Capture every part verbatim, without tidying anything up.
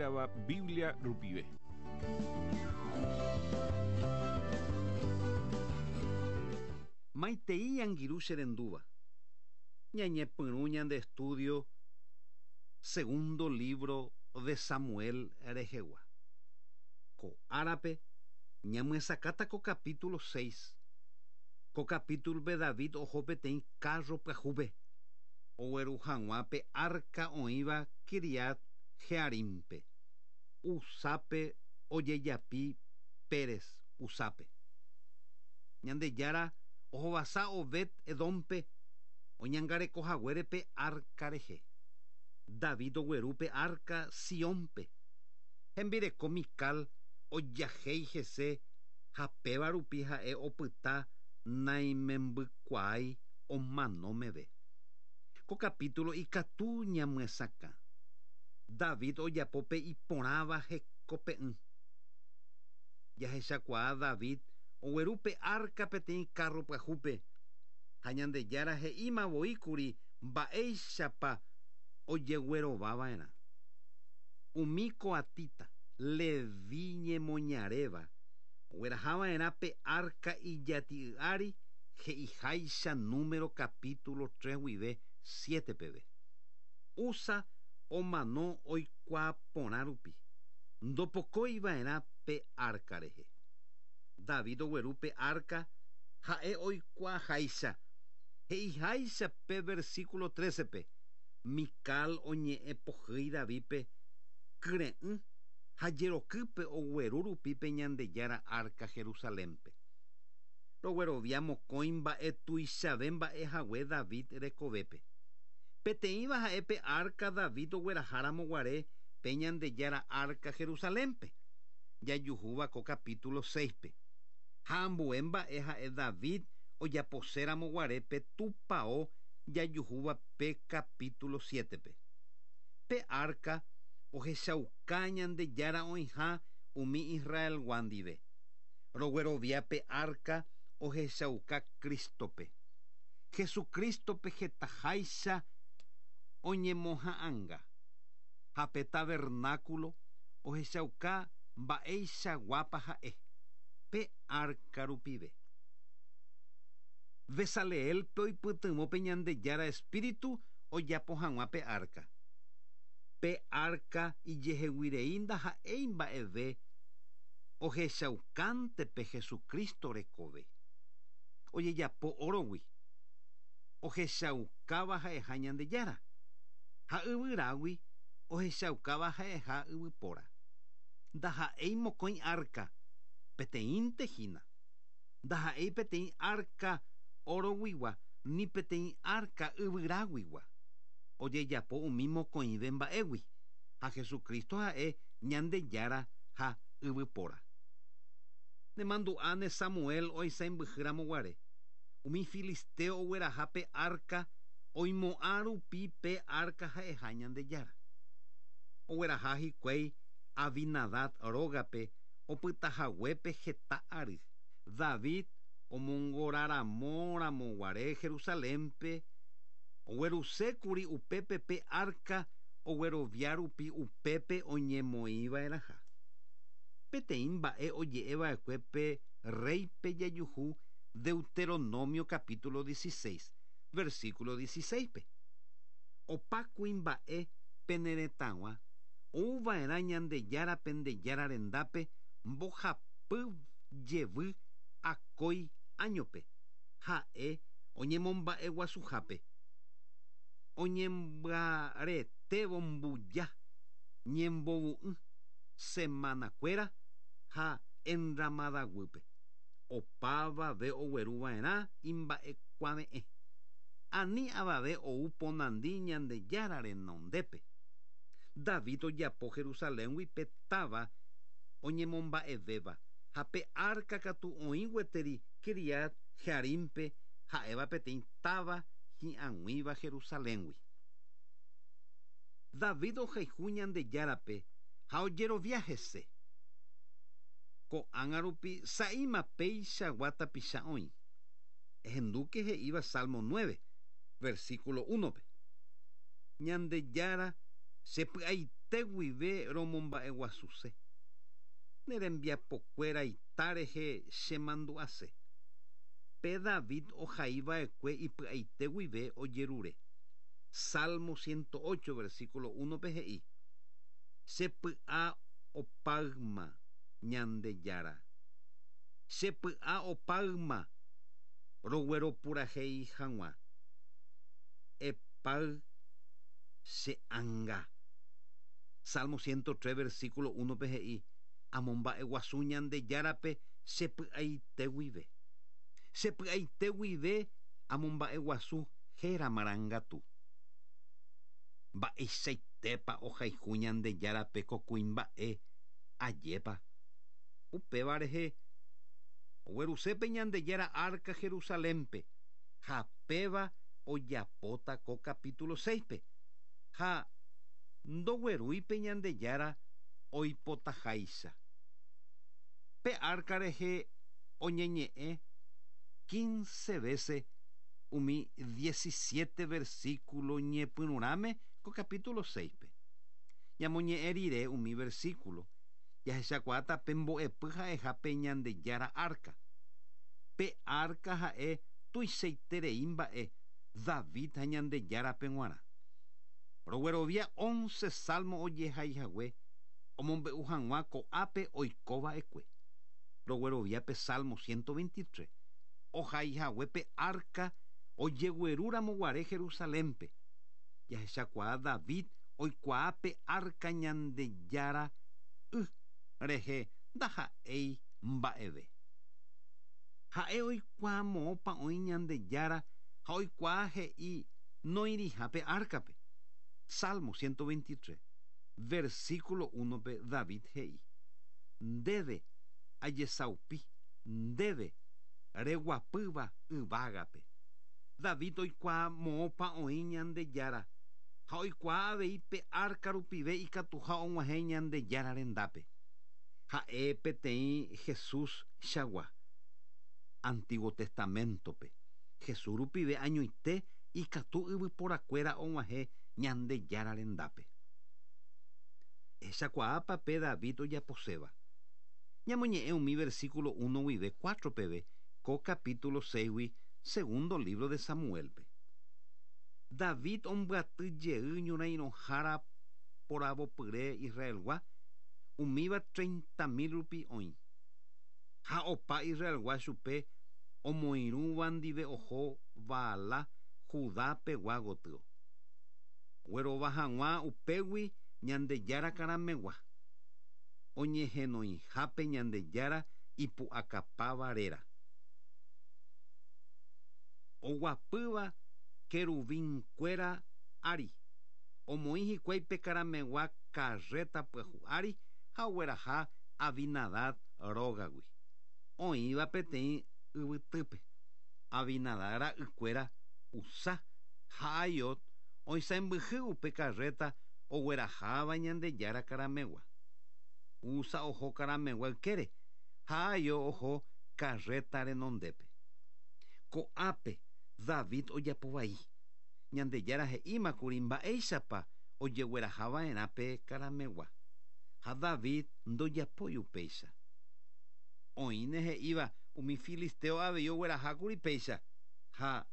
hérava Biblia rupive. Maitei angirũ cherendúva. Ñañepyrũ ñande estudio segundo libro de Samuel rehegua. Ko árape ñamyesakãta ko capítulo seis. Ko capítulo David oho peteĩ carro pyahúpe. Ogueru hag̃ua pe arca oĩva Kiriat Jearimpe. Usápe ojejapi Pérez Usápe. Ñandejára ohovasa Obed Edompe oñangarekohaguére arca rehe. David ogueru pe arca Siónpe. Hembireko Mical ojahéi hese ha péva rupi ha'e opyta naimembykuaái omano meve. Ko capítulo ikatu ñamyesakã. David ojapo pe iporãva hekope'ỹ. Jahechakuaa David ogueru pe arca peteĩ carro pyahúpe. Ha Ñandejára he'íma voíkuri mba'éichapa ojeguerovava'erã. Umi koatita Leví ñemoñaréva oguerahava'erã pe arca ijati'y ári he'iháicha número capítulo tres guive siete peve. Usa omano oikuaa porã rupi. Ndopokóiva'erã pe arca rehe. David ogueru pe arca ha'e oikuaaháicha. He'iháicha pe versículo trece-pe. Mical oñe'ẽ pohýi Davidpe kyre'ỹ ha jerokýpe ogueru rupi pe Ñandejára arca Jerusalénpe. Roguerovia mokõi mba'e tuichave mba'e hague David rekovépe. Peteĩva ha'e pe arca David ogueraháramo guare pe Ñandejára arca Jerusalénpe. Jajuhúva ko capítulo seis-pe. Ha ambue mba'e ha'e David ojaposéramo guare pe tupão jajuhúva pe capítulo siete-pe. Pe arca ohechauka Ñandejára oĩha umi Israelgua ndive. Roguerovia pe arca ohechauka Cristope. Jesucristope hetaháicha oñemoha'ãnga. Ha pe tabernáculo ohechauka mba'eichaguápa ha'e. Pe arca rupive. Bezaleelpe oipytyvõ pe Ñandejára espíritu ojapo hag̃ua pe arca. Pe arca ijeheguirei ndaha'éi mba'eve ohechaukánte pe Jesucristo rekove. Ojejapo órogui. Ohechaukáva ha'eha Ñandejára. Ha yvyrágui ohechaukáva ha'eha yvypóra. Ndaha'éi mokõi arca, peteĩnte hína. Ndaha'éi peteĩ arca oroguigua ni peteĩ arca yvyráguigua. Ojejapo umi mokõive mba'égui. Ha Jesucristo ha'e Ñandejára ha yvypóra. Nemandu'áne Samuel oisãmbyhýramo guare. Umi filisteo ogueraha pe arca oimo'ã rupi pe arca ha'eha Ñandejára. Ogueraha hikuái Abinadab rógape opytahaguépe heta ary. David omongoraramo guare Jerusalénpe oguerusékuri upépe pe arca oguerovia rupi upépe oñemoĩva'erãha. Peteĩ mba'e oje'eva'ekue pe reype jajuhu Deuteronomio capítulo dieciséis, versículo dieciséis-pe. Opa kuimba'e peneretãgua ouva'erã Ñandejára pendejára rendápe mbohapy jevy akói áñope. Ha'e oñemomba'eguasuhápe. Oñembyaretévo mbuja ñembovu'ỹ semanakuéra ha enramadaguýpe. Opavave ogueruva'erã imba'ekuave'ẽ. Ani avave ou ponandi Ñandejára renondépe. David ojapo Jerusaléngui pe táva oñemomba'evéva ha pe arca katu oĩ gueteri Kiriat Jearimpe ha'éva peteĩ táva hi'ag̃uíva Jerusaléngui. David ohayhu Ñandejárape ha ojerovia hese. Ko'ág̃a rupi sa'íma péichagua tapicha oĩ. Ehendúke he'íva Salmo nueve, versículo uno-pe. Ñandejára chepy'aite py'aite guive romomba'eguasuse. Ne rembiapokuéra rehe chemandu'ase. Pe David ohaiva'ekue ipy'aite guive ojerure. Salmo ciento ocho, versículo uno pe he'i. Che py'a opáyma Ñandejára. Che py'a opáyma rogueropurahéi hag̃ua. Epáy che ánga. Salmo ciento tres, versículo uno pe he'i. Amomba'eguasu Ñandejárape che py'aite guive. Che py'aite guive amomba'eguasu héra marangatu. Mba'eichaitépa ohayhu Ñandejárape ko kuimba'e ajépa. Upéva rehe oguerusépe Ñandejára arca Jerusalénpe ha péva ojapóta ko capítulo seis-pe ha ndoguerúipe Ñandejára oipotaháicha. Pe arca rehe oñeñe'ẽ quince veces umi diecisiete versículo ñepyrũrãme ko capítulo seis-pe. Ñamoñe'ẽ rire umi versículo jahechakuaáta pe mbo'epy ha'eha pe Ñandejára arca. Pe arca ha'e tuichaiterei mba'e David ha Ñandejárape g̃uarã. Roguerovia once salmo ojehaihague omombe'u hag̃ua ko'ápe oikova'ekue. Roguerovia pe Salmo ciento veintitrés ohaihague pe arca ojeguerúramo guare Jerusalénpe. Jahechakuaa David oikuaa pe arca Ñandejára y rehe ndaha'éi mba'eve. Ha'e oikuaa moõpa oĩ Ñandejára ha oikuaa he'i noĩriha pe arcape. Salmo ciento veintitrés, versículo uno pe David he'i. Ndéve ajesaupi, ndéve reguapýva yvágape. David oikuaa moõpa oĩ Ñandejára ha oikuaa avei pe arca rupive ikatuha og̃uahẽ Ñandejára rendápe. Ha'e peteĩ Jesús chagua. Antiguo Testamentope. Jesús rupive añoite ikatu yvyporakuéra og̃uahẽ Ñandejára rendápe. Ehechakuaápa pe David ojaposéva. Ñamoñe'ẽ umi versículo uno guive cuatro peve ko capítulo seis-gui segundo libro de Samuelpe. David ombyaty jey ñorairõhára poravopyre Israelgua umíva treinta mil rupi oĩ. Ha opa Israelgua chupe omoirũva ndive oho Baalá Judápegua gotyo. Guerova hag̃ua upégui Ñandejára karamegua. Oñehenoihápe Ñandejára ipu'akapáva réra. Oguapýva querubinkuéra ári. Omoĩ hikuái pe karamegua carreta pyahu ári ha ogueraha Abinadab rógagui. Oĩva peteĩ yvytýpe. Abinadab ra'ykuéra Uzá ha Ahiod oisãmbyhy upe carreta ogueraháva Ñandejára karamegua. Uzá oho karamegua ykére ha Ahiod oho carreta renondépe. Ko'ápe David ojapovai. Ñandejára he'ímakuri mba'éichapa ojeguerahava'erã pe karamegua. Ha David ndojapói upéicha. Oĩne he'íva umi filisteo avei oguerahákuri péicha ha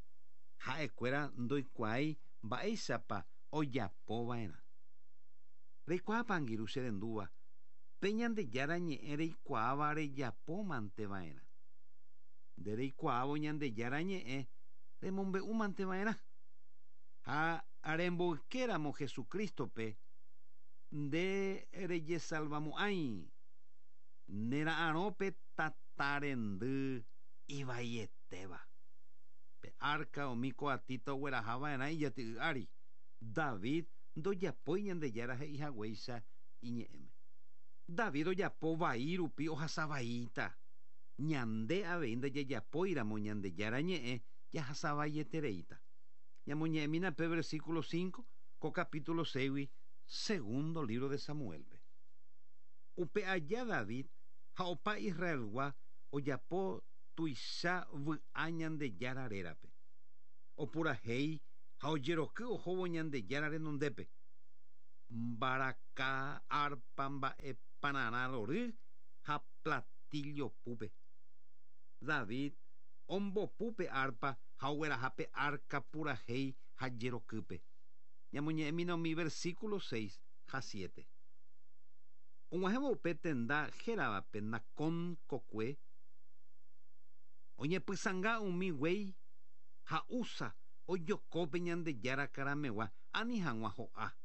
ha'ekuéra ndoikuaái mba'éichapa ojapova'erã. Reikuaápa angirũ che rendúva pe Ñandejára ñe'ẽ reikuaáva rejapómanteva'erã. Nde reikuaávo Ñandejára ñe'ẽ remombe'úmanteva'erã. Ha remboykéramo Jesucristope nde rejesalvamo'ãi nera'arõpe tatarendy ivaietéva. Pe arca umi koatita oguerahava'erã ijati'y ári. David ndojapói Ñandejára he'ihaguéicha iñe'ẽme. David ojapo vai rupi ohasavaíta. Ñande avei ndajajapóiramo Ñandejára ñe'ẽ jahasavaietereíta. Ñamoñe'ẽmína pe versículo cinco ko capítulo seis-gui segundo libro de Samuelpe. Upe aja David ha opa Israelgua ojapo tuicha vy'a Ñandejára rérape. Opurahéi ha ojeroky ohóvo Ñandejára renondépe. Mbaraka, arpa, mba'e pararã rory ha platillo púpe. David ombopu pe arpa ha ogueraha pe arca purahéi ha jerokýpe. Ñamoñe'ẽmína umi versículo seis ha siete. Og̃uahẽvo upe tenda héravape Nacón kokue, oñepysãnga umi guéi ha Uza ojoko pe Ñandejára karamegua ani hag̃ua ho'a.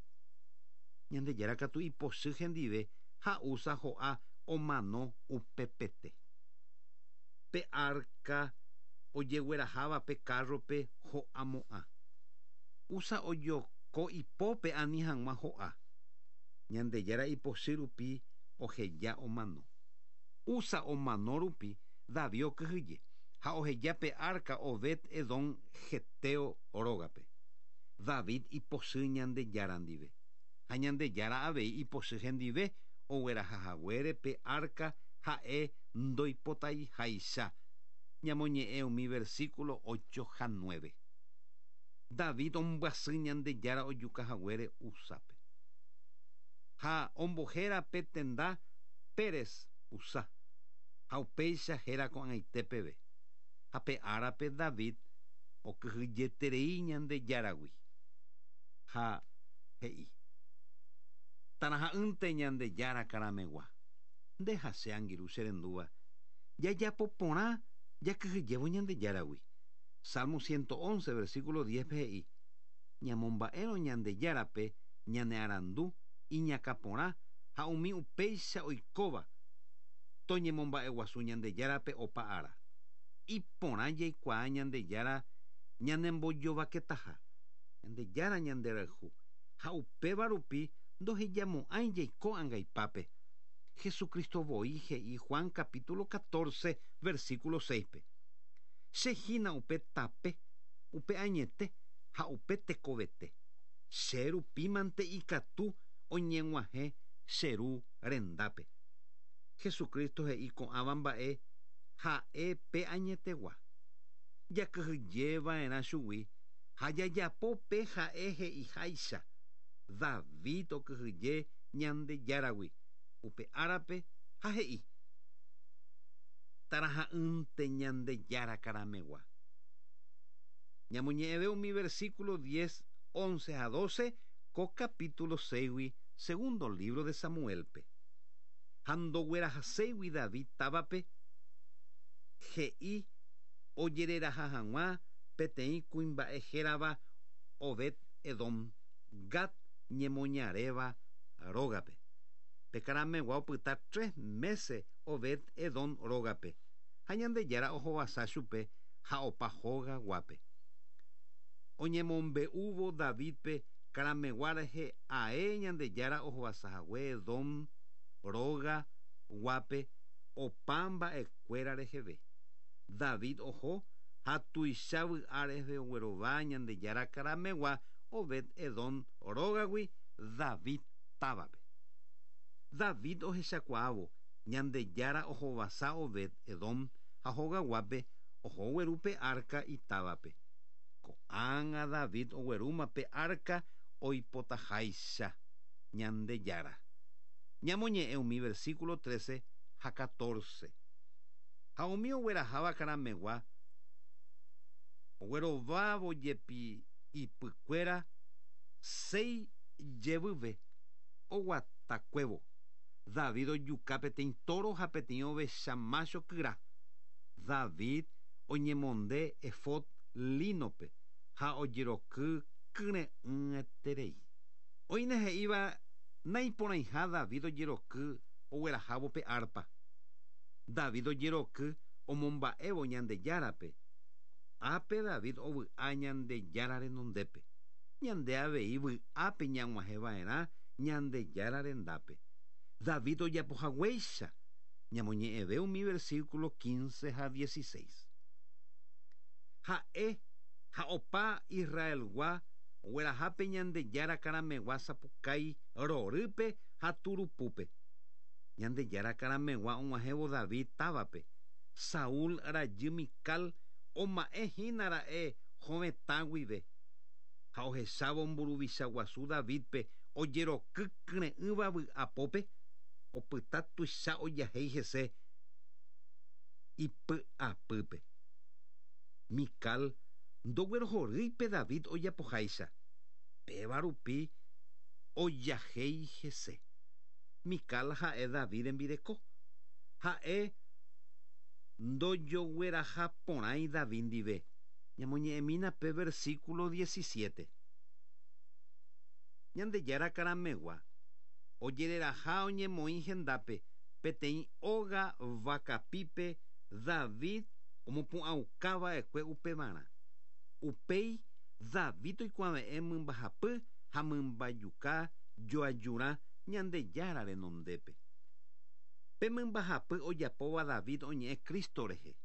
Ñandejára katu ipochy hendive ha Uza ho'a omano upepete. Pe arca ojegueraháva pe carrope ho'amo'ã. Uza ojoko ipópe ani hag̃ua ho'a. Ñandejára ipochy rupi oheja omano. Uza omano rupi David okyhyje ha oheja pe arca Obed Edom heteo rógape. David ipochy Ñandejára ndive. Ha Ñandejára avei ipochy hendive oguerahahaguére pe arca ha'e ndoipotaiháicha. Ñamoñe'ẽ umi versículo ocho ha nueve. David ombyasy Ñandejára ojukahaguére Uzápe. Ha ombohéra pe tenda Pérez Uzá. Ha upéicha héra ko'ag̃aite peve. Ha pe árape David okyhyjeterei Ñandejáragui. Ha he'i: Taraha'ỹnte Ñandejára karamegua. Nde ha che angirũ che rendúva. Jajapo porã jakyhyjévo Ñandejáragui. Salmo ciento once, versículo diez he'i: Ñamomba'érõ Ñandejárape ñane arandu iñakãporã ha umi upéicha oikóva toñemomba'eguasu Ñandejárape opa ára. Iporã jaikuaa Ñandejára ñanembojovaketaha. Ñandejára ñanderayhu ha upéva rupi ndohejamo'ãi jaiko angaipápe. Jesucristo voi he'i Juan capítulo catorce, versículo seis-pe. Che hína upe tape, upe añete ha upe tekovete. Che rupímante ikatu oñeg̃uahẽ che ru rendápe. Jesucristo he'i ko'ãva mba'e ha'e pe añetegua. Jakyhyjeva'erã chugui ha jajapo pe ha'e he'iháicha. David okyhyje Ñandejáragui upe árape ha he'i: Taraha'ỹnte Ñandejára karamegua. Ñamoñe'ẽve umi versículo diez, once ha doce ko capítulo seis segundo libro de Samuelpe. Ha ndoguerahaséigui David távape he'i ojereraha hag̃ua peteĩ kuimba'e hérava Obed Edom Gat ñemoñaréva rógape. Pe karamegua opyta tres meses Obed Edom rógape. Ha Ñandejára ohovasa chupe ha opa hógaguápe. Oñemombe'úvo Davidpe karamegua rehe ae Ñandejára ohovasahague Edom róga guápe opa mba'ekuéra reheve. David oho ha tuicha vy'a reheve oguerova Ñandejára karamegua Obed Edom rógagui David távape. David ohechakuaávo Ñandejára ohovasa Obed Edom ha hogaguápe oho ogueru pe arca itávape. Ko'ág̃a David oguerúma pe arca oipotaháicha Ñandejára. Ñamoñe'ẽ umi versículo trece ha catorce. Ha umi ogueraháva karamegua oguerovávo jepi ipykuéra seis jevyve oguatakuévo. David ojuka peteĩ toro ha peteĩ ovecha macho kyra. David oñemonde efod línope ha ojeroky kyre'ỹeterei. Oĩne he'íva naiporãiha David ojeroky oguerahávo pe arpa. David ojeroky omomba'évo Ñandejárape. Ápe David ovy'a Ñandejára renondépe. Ñande avei vy'ápe ñag̃uahẽva'erã Ñandejára rendápe. David ojapohaguéicha. Ñamoñe'ẽve umi versículo quince ha dieciséis. Ha'e ha opa Israelgua oguerahápe Ñandejára karamegua sapukái rorýpe ha turupúpe. Ñandejára karamegua og̃uahẽvo David távape. Saúl rajy Mical oma'ẽ ra'e hovetã guive. Ha ohechávo mburuvicha guasu Davidpe Ojeroky kyre'ỹva vy'apópe opyta tuicha ojahéi hese ipy'apýpe. Mical ndoguerohorýipe David ojapoháicha. Péva rupi ojahéi hese. Mical ha'e David rembireko. Ha'e ndojoguerahaporãi David ndive. Ñamoñe'ẽmína pe versículo diecisiete. Ñandejára karamegua ojereraha oñemoĩ hendápe peteĩ óga vakapípe David omopu'ãukava'ekue upevarã. Upéi David oikuave'ẽ mymbahapy ha mymbajuka joajurã Ñandejára renondépe. Pe mymbahapy ojapóva David oñe'ẽ Cristo rehe.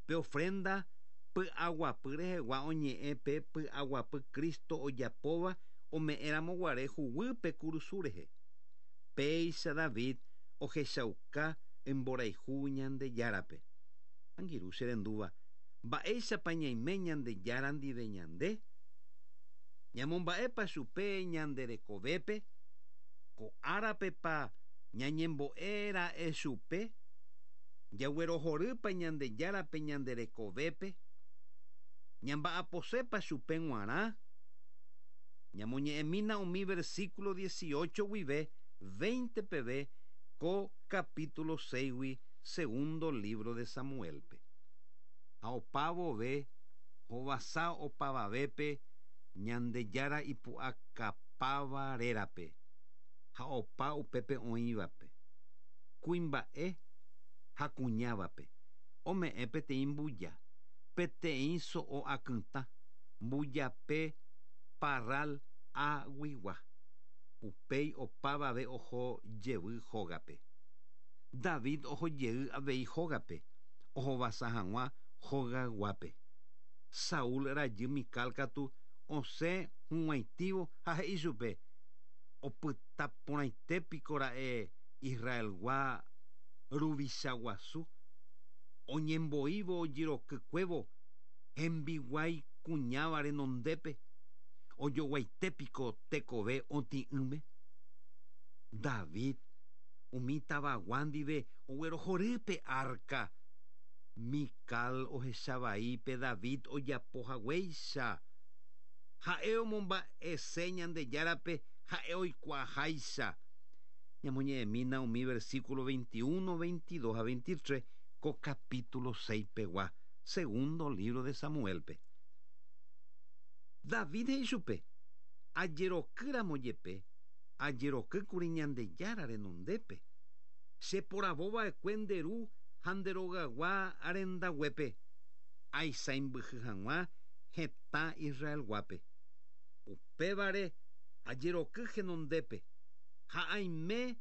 Pe ofrenda py'aguapy rehegua oñe'ẽ pe py'aguapy Cristo ojapóva ome'ẽramoguare huguýpe kurusu rehe. Péicha David ohechauka imborayhu Ñandejárape. Angirũ che rendúva, mba'éichapa ñaime Ñandejára ndive ñande? Ñamomba'épa chupe ñande rekovépe? Ko árapepa ñañembo'éra'e chupe? Jaguerohorýpa Ñandejárape ñande rekovépe? Ñamba'aposépa chupe g̃uarã? Ñamoñe'ẽmína umi versículo dieciocho guive veinte peve ko capítulo seis-gui segundo libro de Samuelpe. Ha opavove hovasa opavavépe Ñandejára ipu'akapáva rérape ha opa upépe oĩvape. Kuimba'e ha kuñávape ome'ẽ peteĩ mbuja, peteĩ so'o akytã, mbujape parral aguigua. Upéi opavave oho jevy hógape. David oho jey avei hógape, ohovasa hag̃ua hogayguápe. Saúl rajy Mical katu osẽ hug̃uaitĩvo ha he'i chupe opytaporãitépiko ra'e Israelgua ruvicha guasu oñemboívo ojerokykuévo hembiguái kuñáva renondépe ojoguaitépiko tekove otĩ'ỹme. David umi tavagua ndive oguerohorýpe arca. Mical ohechavaipe David ojapohaguéicha. Ha'e omomba'ese Ñandejárape ha'e oikuaaháicha. Ñamoñe'ẽmína umi versículo veintiuno, veintidós ha veintitrés ko capítulo seis pegua, segundo libro de Samuelpe. David he'i chupe ajerokýramo jepe ajerokýkuri Ñandejára renondépe. Cheporavova'ekue nde ru ha nde rogagua rendaguépe aisãimbyhy hag̃ua hetã Israelguápe. Upévare ajeroky henondépe ha aime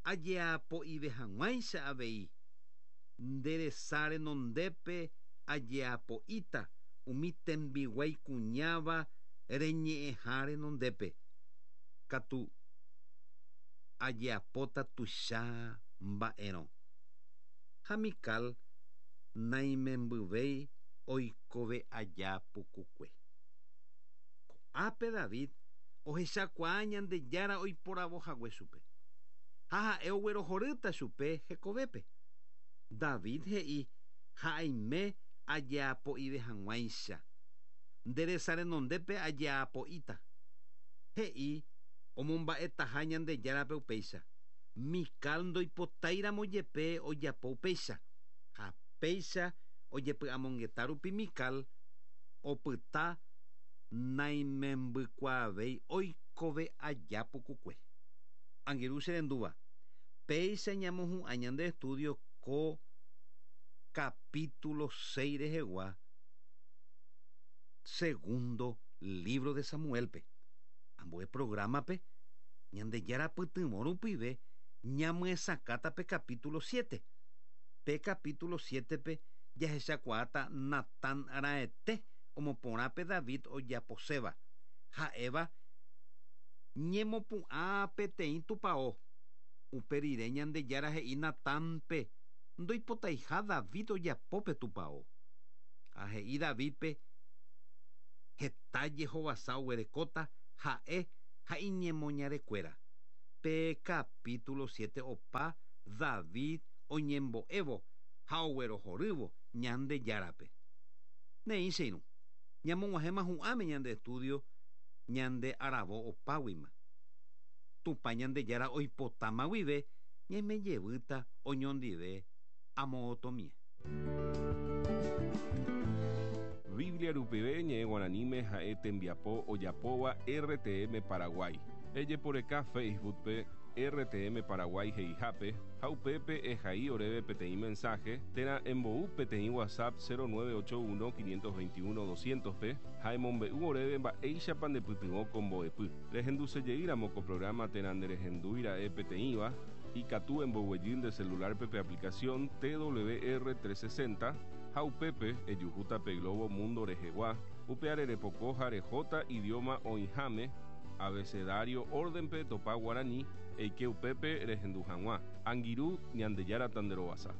ajeapo'ive hag̃uáicha avei. Nde resa renondépe ajeapo'íta umi tembiguái kuñáva reñe'ẽha renondépe. Katu ajeapóta tuicha mba'érõ. Ha Mical naimembyvéi oikove aja pukukue. Ko'ápe David ohechakuaa Ñandejára oiporavohague chupe. Ha ha'e oguerohorýta chupe hekovépe. David he'i ha aime ajeapo'ive hag̃uáicha. Nde resa renondépe ajeapo'íta. He'i omomba'etaha Ñandejárape upéicha. Mical ndoipotáiramo jepe ojapo upéicha. Ha péicha ojepy'amongeta rupi Mical opyta naimembykuaavéi oikove aja pukukue. Angirũ che rendúva, péicha ñamohu'ã ñande estudio ko capítulo seis rehegua segundo libro de Samuelpe. Ambue programape Ñandejára pytyvõ rupive ñamyesakãta pe capítulo siete. Pe capítulo siete-pe jahechakuaáta Natán raẽte omoporãpe David ojaposéva. Ha'éva ñemopu'ã peteĩ tupão. Upe rire Ñandejára he'i Natánpe ndoipotaiha David ojapópe tupão. Ha he'i Davidpe heta jehovasa oguerekóta ha'e Ha iñemoñarekuéra. Pe capítulo siete opa David oñembo'évo ha oguerohorývo Ñandejárape. Néi che irũ. Ñamog̃uahẽma hu'ãme ñande estudio ñande aravo opáguima. Tupã Ñandejára oipotáma guive ñaimejevýta oñondive amo'õtomie. Biblia rupive ñe'ẽ guaraníme ha'e tembiapo ojapóva R T M Paraguay. Ejeporeka Facebook-pe R T M Paraguay he'ihápe ha upépe ehai oréve peteĩ mensaje térã embou peteĩ WhatsApp cero nueve ocho uno quinientos veintiuno doscientos-pe ha emombe'u oréve mba'éichapa ndepytyvõ ko mbo'epy. Rehendusejeýramo ko programa térã nderehendúira'e peteĩva, ikatu emboguejy nde celular-pe pe aplicación T W R trescientos sesenta ha upépe ejuhúta pe Globo Mundo rehegua, upe arerepoko ha rehóta idioma oĩháme abecedario orden-pe topa guarani eike upépe rehendu hag̃ua. Angirũ, Ñandejára tanderovasa.